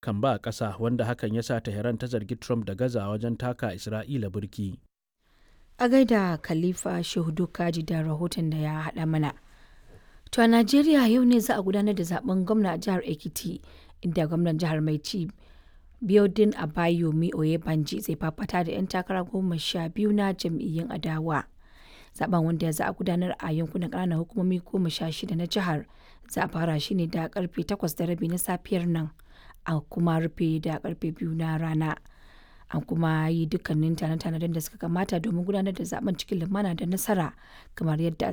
Kan ba ƙasa wanda hakan ya sa Tehran ta zargi Trump da gaza wajen taka Isra'ila burki. A gaida Khalifa Shehu Kaji da rahoton da ya haɗa mana. To a Najeriya yau ne za a gudanar da zaben gwamna a jihar Ekiti, inda gwamnan jihar mai ci Biodun Abayomi Oyebanji zai fafata da 'yan takara 12 na jam'iyyun adawa. Zaben, wanda za a gudanar a yankunan ƙananan hukumomi 16 na jihar, za a fara shi ne da karfe 8:30 na safiyar nan a kuma rufe da karfe 2 na rana. An kuma yi dukkanin tane-tanen da suka kamata domin gudanar da zaben cikin lumana da nasara kamar yadda